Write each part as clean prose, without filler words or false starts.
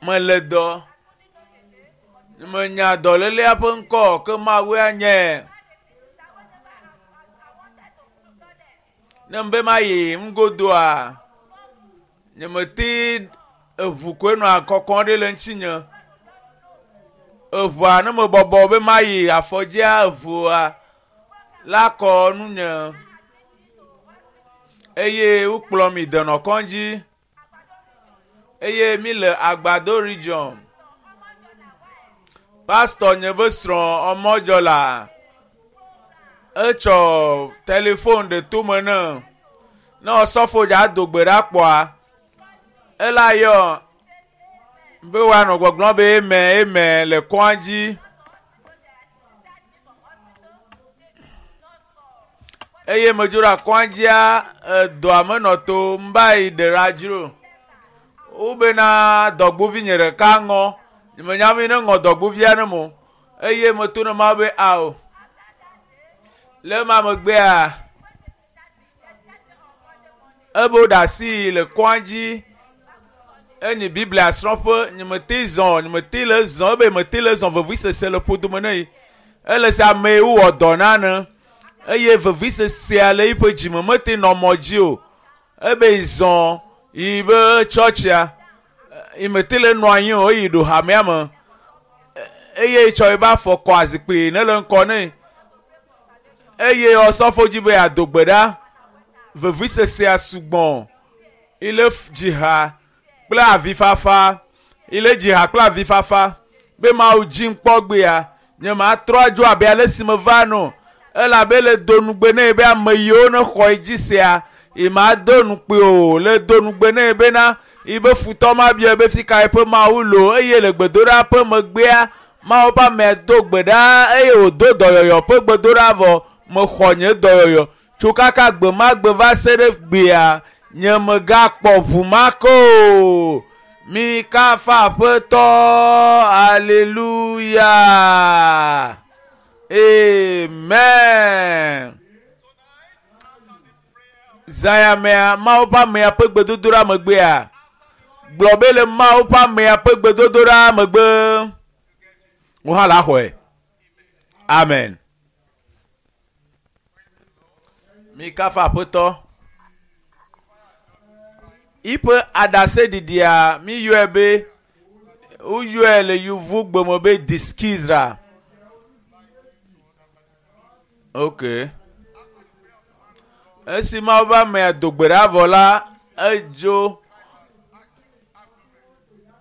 Mele dɔ. Menya dɔlélea ƒe ŋkɔ ke Mawu anye. Ne mbe mayi ŋgodoa, nyemete eʋu koe nɔa kɔkɔm ɖi le ŋutinye. Eʋua ne mebɔbɔ be mayi afɔdzia eʋua la kɔ nunye eye wokplɔ mi denɔ kɔdzi eye mi le Agbado region. Pastor nye be srɔ̃ ɔmɔdzɔla etsɔ telefon ɖe tome ne ne ɔsɔfo dza do gbe ɖa kpɔa ela yɔ be woanɔ gbɔgblɔm be eme eme le kɔa dzi. Eye medzo ɖe akɔa dzia edɔa menɔ to mba yi ɖe ɖa dzro. Wobena dɔgbovi nye ɖeka ŋɔ. Nyemenya be ne ŋɔ dɔgbovia ne mo. Eye meto ne Mawu be ao. Le ema megbea ebe woɖe asi le kɔa dzi enyi Biblia srɔ̃ƒe nyemete zɔ nyemete le zɔ ebe mete le zɔ vevisese le ƒodome ne yi. Ele se ame yi wowɔ dɔ na ne eye vevisesea le yiƒe dzime mete nɔ mɔ dzi o. Ebe yi zɔ yi be tsɔtsia yi mete le nɔ anyi o eyi ɖo hamea me eye tsɔ yiƒe afɔ kɔ azikpui ne le ŋkɔ ne eye ɔsɔfo dzi be yeado gbe ɖa vevisesea sugbɔ ile dzi ha kple avifafa ile dzi ha kple avifafa be Mawu dzi ŋkpɔ gbea nye matrɔ adzo abe ale si meva no elabe le do nugbe nɛ be ame yiwo ne xɔ dzi sea yi ma do nukpe o le do nugbe nɛ bena yi be futɔ ma bia be fi ka eƒe Mawu lo eye le gbedoɖa ƒe megbea Mawu ƒe amea do gbe ɖa eye wòdo dɔyɔyɔ ƒe gbedoɖa vɔ mexɔ nye dɔyɔyɔ tso kaka gbe ma gbe va se ɖe gbea nye megakpɔ ʋu ma ke o. Mi kafa Aƒetɔ, aleluya. Amen. Zaya mea Mawu ƒe amea ƒe gbedodoɖa megbea gblɔ be le Mawu ƒe amea ƒe gbedodoɖa megbe wò hã la xɔe. Amen. Mi kafa Aƒetɔ. Yiƒe aɖaseɖiɖia mi yɔe be woyɔe le yevugbe me be diskizra. Ok. Esi Mawu ƒe amea do gbe ɖa vɔ la, edzo.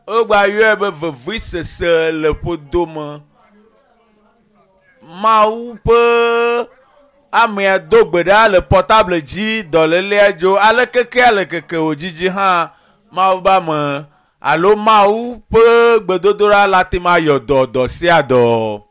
Wogba yɔe be vevisese le ƒodome. Mawu ƒe amea do gbe ɖa le portable dzi dɔlélea dzo alekeke alekeke wòdzidzi hã Mawu ƒe ame alo Mawu ƒe gbedodoɖa la te ma yɔ dɔ dɔ sia dɔ.